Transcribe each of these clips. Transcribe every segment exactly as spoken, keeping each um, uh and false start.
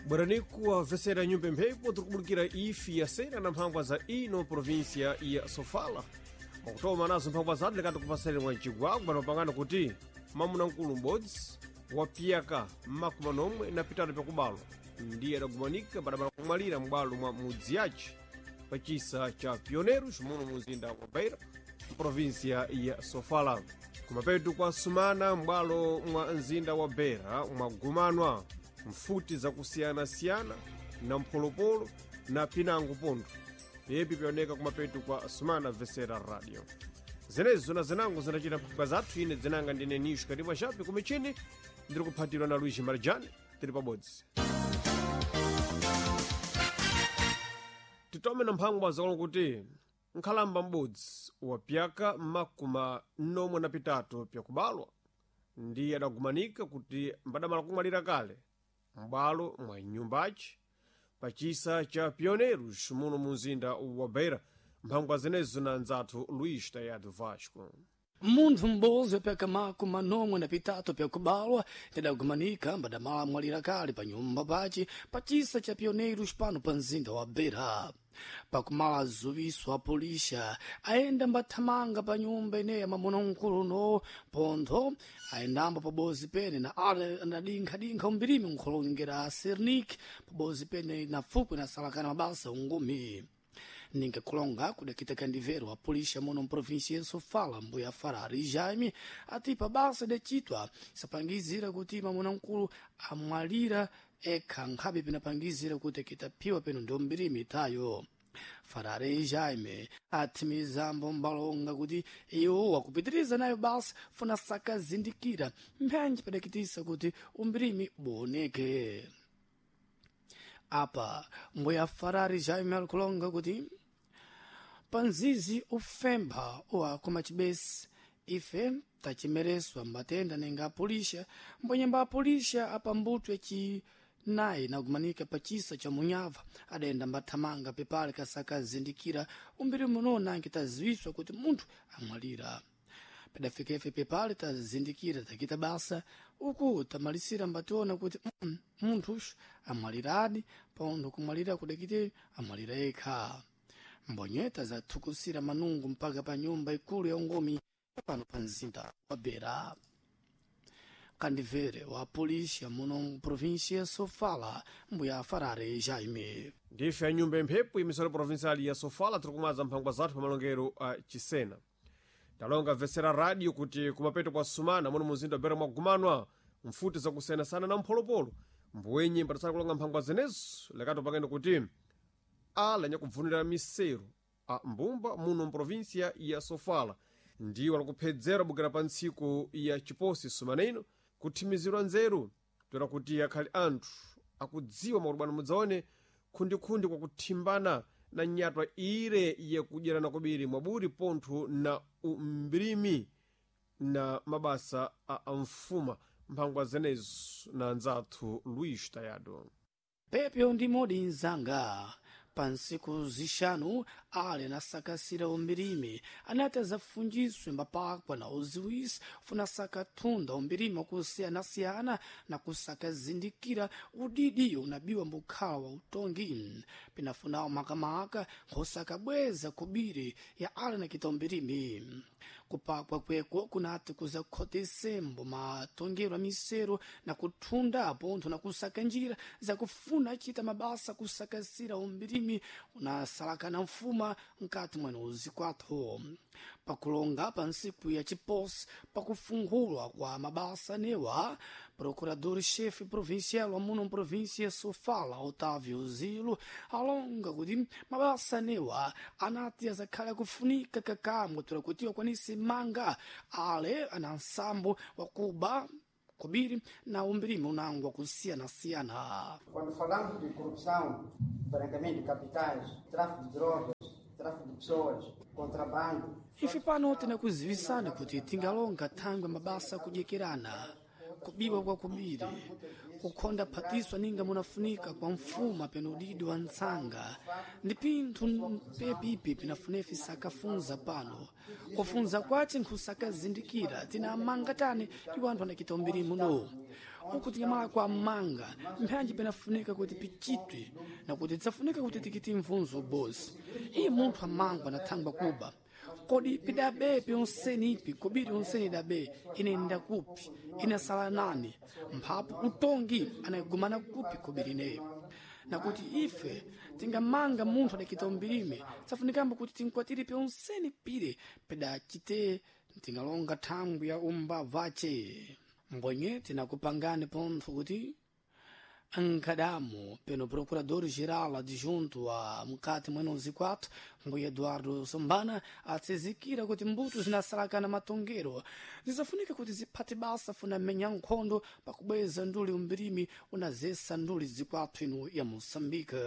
Bweraniku vesera nyumba mphepo tikubulukira ifi ya sena na mphangwa za ino província ya Sofala. Mwakutoma nazo mphangwa zatu likati kupasani mwa mcigwagwa panopangana kuti mamuna mkulu m'bodzi wapiyaka mmakumi nomwe na pitatu pyakubalwa ndiye adagumanika badabala kumwalira m'bwalo mwa mudzi yace pachisa cha Pioneiros muno muzinda wa Beira mprovinsia ya Sofala. Kumapetu kwa sumana m'bwalo mwa mzinda wa Beira mwagumanwa mfuti zakusiyanasiyana na mpholopolo na pinango pontho yepi pyaoneka kumapetu kwa sumana vesera radio zenezo na zinango zinachita mphaka zathu. Ine dzinanga ndine Nisho Katimwa Chape kumichini ndiri kuphatirwa na Luiz Marjani tiri pabodzi. Titome na mphangwa zakola kuti nkhalamba m'bodzi wapyaka makumi nomwe na pitatu pyakubalwa ndiye adagumanika kuti mbadamala kumwalira kale m'bwalo mwa nyumbaci pachisa cha Pioneiros muno mu mzinda wa Beira. Mphangwa zenezo na nzathu Luís Tayado Vasco. Munthu m'bodzi wapyaka makumi manomwe na pitatu pyakubalwa tidagumanika mbadamala mwalira kale pa nyumba pace pachisa cha Pioneiros pano pa mzinda wa Beira. Pakumala zuwiso a polisha ayenda mbathamanga pa nyumba ineyi ya mamuna mkulu no pontho ayendambo pabozi pene na ale anadinkha-dinkha umbirimi nkhulongera Sernik pabozi pene na fukwe na salakana mabasa ungumi. Ninga kulonga kudakita kandivero a polícia muno mprovíncia ya Sofala mbuya Farari Jaime ati pabasa decitwa sapangizira kuti mamuna mkulu amwalira ekha nkhabe pinapangizira kuti akitaphiwa peno ndo mbirimi itayo. Farari Jaime athimizambo mbalonga kuti iwo wakupitiriza nayo basa funa sakazindikira mphenji padakitisa kuti umbirimi buoneke. Apa mbuya Farari Jaime alikulonga kuti panzizi ufempha uwakoma chibesi ife tachimereswa mbatenda nenga apulisha mbwenyemba apulisha apambuto yachinayi nakumanika pachisa cha munyava adayenda mbathamanga pepale kasakazindikira umbiri muno nange taziwiswa kuti munthu amwalira. Padafika ife pepale tazindikira takita basa uku tamalisira mbationa kuti mm, munthu amwaliradi paunthu kumwalira kudakite amwalira yekha. Mbonyeta zathukusira manungu mpaka pa nyumba ikulu ya ungomi pano pa mzinda wa Beira. Kandivere wa polícia muno província ya Sofala mbuya Farare Jaime. Ndife a nyumba imphepo imisolo provincial ya Sofala tiri kumaza mphangwa zathu pa malongero a Chisena. Talonga vesera radio kuti kumapeto kwa sumana muno muzinda wa Beira mwagumanwa mfuti zakusiyanasiyana na mpholopolo mbwenye mbatasala kulonga mphangwa zenezo lekato pakene kuti ala nyakubvunira miseru a mbumba muno mprovinsia ya Sofala ndiwo alakuphedzera bukira pa ntsiku ya chiposi sumana ino kuthimizirwa nzeru toera kuti akhali anthu akudziwa makulubwana mudzaone khundikhundi kwakuthimbana na nyatwa ire yakudyerana kobiri mwaburi pontho na umbirimi na mabasa a amfuma. Mphangwa zenezo na anzathu Luís Tayado. Pepyo ndi modi mzanga pa ntsiku zixanu ale anasakasira umbirimi anati azafunjiswe mbapakwa na uziwisi funa sakathunda umbirimi wakusiyanasiyana na kusakazindikira udidi unabiwa mbukhala wa utongi pinafunawo makamaka nkhosakabweza kubiri ya ale nakita umbirimi. Kupakwa kweko kunati kuzakhotesembo matongero a misero na kuthunda pontho na kusaka njira zakufuna achita mabasa kusakasira umbirimi unasalakana mfuma mkati mwene uzikwatho. Pakulonga pa ntsiku ya chiposi pakufunkhulwa kwa mabasa newa procurador-chefe provincial wa muno província Sofala Otávio Zilo alonga kuti mabasa newa anati azakhale akufunika kakamwe tola kuti akwanise manga ale ana nsambo wakuba kubiri na umbirimi unango wakusiyanasiyana. Quando falamos de corrupção, branqueamento de capitais, tráfico de drogas, tráfico de pessoas, contrabando. Ife pano tinakuziwisani kuti tingalonga thangwe mabasa akudyekerana kubiwa kwa kubiri kukhonda phatiswa ninga munafunika kwa mfuma peno udidi wa ntsanga ndi pinthu mpepipi pinafunefi sakafunza pano kufunza kwace nkhusakazindikira tina amanga tani iwo anthu anakita umbiri muno. Uku tingamala kwa manga mphanji penafunika kuti pichitwe na kuti tidzafunika kuti tikiti mvunzo bosi. Iye munthu amangwa anathangwa kuba kodi pidabe pyonseni ipi kobiri onseni idabe inenda kupi inasala nani mphapo utongi anayigumana kupi kobiri ineyo nakuti ife tingamanga munthu adakita umbirime tsafunikambo kuti tinkwatire pyonseni pire pedachite tingalonga thangwi ya umbavace. Mbwenye tinakupangani pontho kuti ankadamo pelo procurador-geral adjunto a mkati mwenozi quatro mbuya Eduardo Sombana atsizikira kuti mbuto zinasalakana matongero zizafunika kuti ziphate basa funa menya nkhondo pakubweza nduli umbirimi unazesa nduli zikwathu ino ya Moçambique.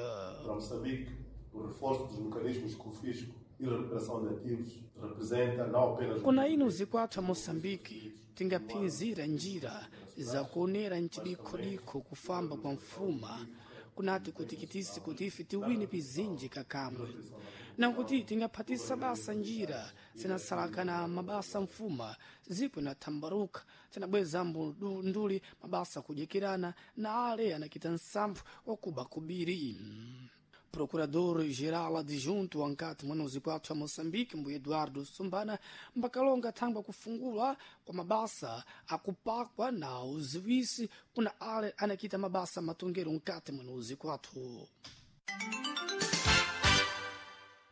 Para Moçambique, o reforço dos mecanismos de confisco e recuperação de ativos representa não apenas Kuna ino zikwathu a Moçambique tingaphinzira njira zakuonera mchidikhodikho kufamba kwa mfuma kunati kutikitisi kuti ife tiwine pizinji kakamwe nakuti tingaphatisa basa njira zinasalakana mabasa mfuma zipo inathambaruka tinabwezambo nduli mabasa kudyekirana na ale anakita nsamphu wakuba kubiri. Procurador-geral adjunto ankati mwenozi kwathu a Moçambique mbuya Eduardo Sumbana mbakalonga thangwa kufungula kwa mabasa akupakwa na uziwisi kuna ale anakita mabasa matongero nkati mwenozi kwathu.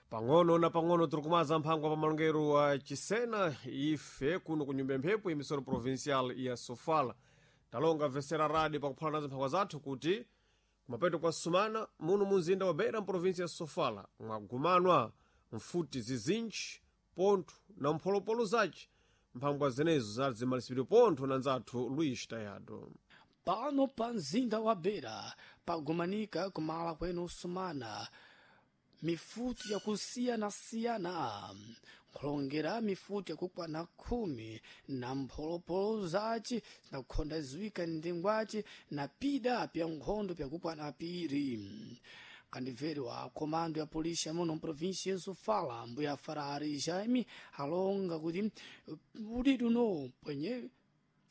Pang'ono na pang'ono tiri kumaza mphangwa pa malongero wa Chisena ife kuno ku nyumba ya mphepo emisoro provincial ya Sofala. Talonga vesera radio pakuphala nazo mphangwa zathu kuti kumapeto kwa sumana muno munzinda wa Beira mprovinsi ya Sofala mwagumanwa mfuti zizinji pontho na mpholopolo zace. Mphangwa zenezo zinali zimalisipidwe pontho na nzathu Luís Tayado. Pano pa mzinda wa Beira pagumanika kumala kwenu sumana mifuti yakusiyanasiyana nkhulongera mifuti yakukwana khumi na mpholopolo zace zinakhonda ziwika ndengwace na pida pya nkhondo pyakukwana piri. Kandibveri wa komando ya polisi muno mprovinsi ya Sofala mbuya Farari Jaime alonga kuti udidi uno pwenye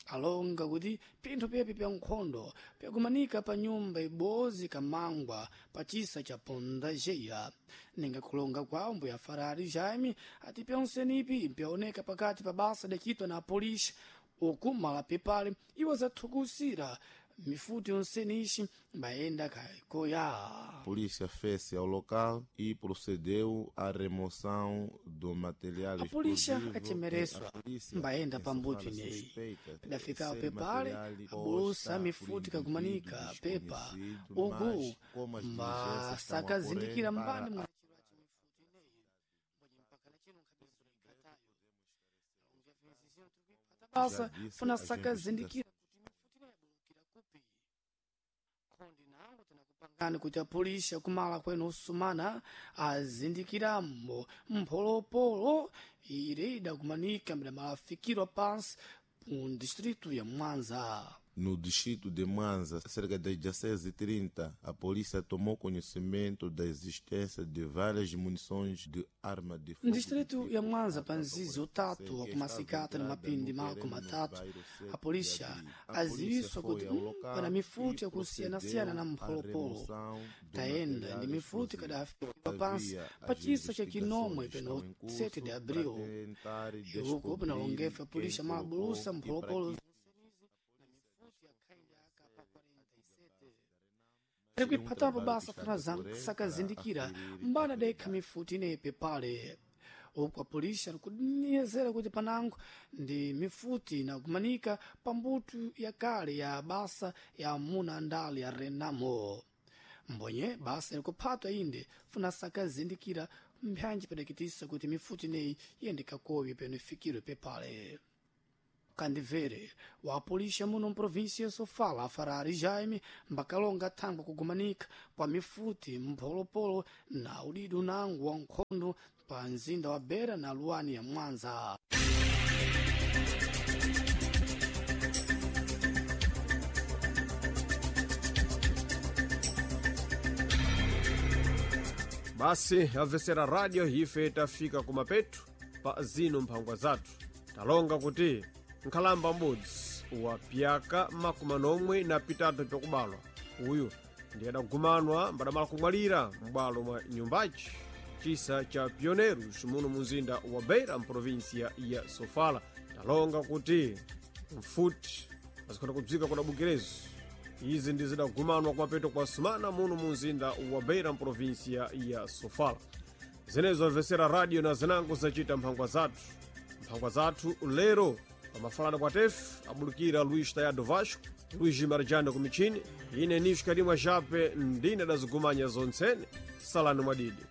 alonga kuti pinthu pepe pya nkhondo pyakumanika pa nyumba ibozi kamangwa pa chisa cha Pondajeya. Ninga kulonga kwawo mbuya Farari Jaime ati pyonsenipi pyaoneka pakati pa basa dakitwa na polisi uku malapi pale iwo zathukusira mifuti yonsenishi mbayenda kaikoya. Polícia fez-se ao local e procedeu à remoção do material A polícia explosivo. achemereswa A polícia mbayenda em pambuto Sofala ineyi suspeita pedafikawo ser pepale material abulusa posta mifuti por kakumanika indivíduo pepa desconhecido, uku mas como as diligências estão a mbasakazindikira correr mbani para mwa basa Já disse, funa as sakazindikira kuti kuti apolisi akumala kwenu usumana azindikiramo mpholopolo ire idakumanika mbidamalafikirwa pansi mu distrito ya Mwanza. No distrito de Mwanza, cerca das dezesseis e trinta, a polícia tomou conhecimento da existência de várias munições de arma de fogo. No distrito ya Mwanza pa mzizi utatu wa kumasikata na mapindi mako matatu a polícia aziwiswa kuti mm, pana mifuti yakusiyanasiyana na mpholopolo tayenda ndi mifuti kadafikirwa pansi pa chisa cha Kinomwe peno sete de abril. Iuko penalongefa a polícia malabulusa mpholopolo tikuiphatapo basa funa sakazindikira mbana dekha mifuti ineyi pale uku apolisi alikudinezera kuti panango ndi mifuti inakumanika pa mbuto yakale ya basa ya amuna andale ya Renamo. Mbonye basa ilikuphatwa inde funa sakazindikira mphanji padakitisa kuti mifuti ineyi iyende kakowi peno ifikirwe pepale. Kandivere wa polícia muno mprovíncia ya Sofala Farari Jaime mbakalonga thangwa kugumanika kwa mifuti mpholopolo na udidu nango wa nkhondo pa mzinda wa Beira na luwani ya Mwanza. Basi amvesera radio ife tafika kumapetu pa zino mphangwa zathu. Talonga kuti nkhalamba m'bodzi wa pyaka makumi anomwe na pitatu pyakubalwa. Uyu ndi adagumanwa mbadamala kumwalira m'bwalo mwa nyumbaci chisa cha Pioneros muno munzinda wa Beira mprovinsia ya Sofala. Talonga kuti mfuti azikhona kubzika kudabukirezo izi ndi zidagumanwa kumapeto kwa sumana muno munzinda wa Beira mprovinsia ya Sofala. Zinezo amvesera radio na zinango zacita mphangwa zathu mphangwa zathu lero pamafalana kwa tefu abulukira Luís Tayado Vasco, Luís Marjano kumichini, ine Nisho Kalimwa Jape ndine dazigumanya zontsene. Salani mwadidi.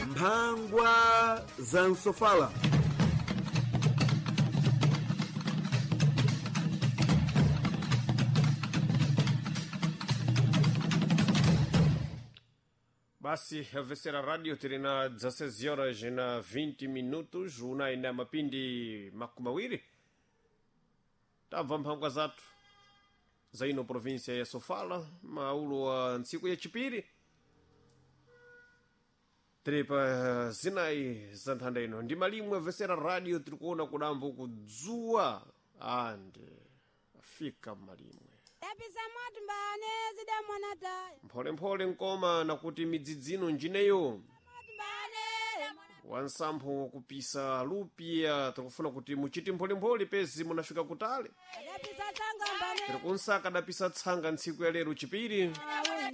Mphangwa za Nsofala. Basi amvesera radio tili na dezesseis horas na vinte minutos, una ina mapindi makumi mawiri. Tabva mphangwa zathu za ino província ya Sofala, maulo wa ntsiku ya chipiri tiri pa zinayi za nthanda ino ndi malimwe amvesera radio tiri kuona kudambo kudzuwa ande afika malimwe Yapisa moto mbane zida mwana taya. mpholemphole nkoma nakuti midzidzino njineyo Mbane. wansampho wakupisa lupia tikufuna kuti muchiti mpholemphole pezi munafika kutale. Yapisa tsanga mbane. Tiri kunsaka adapisa tsanga ntsiku ya lero chipiri. Awe.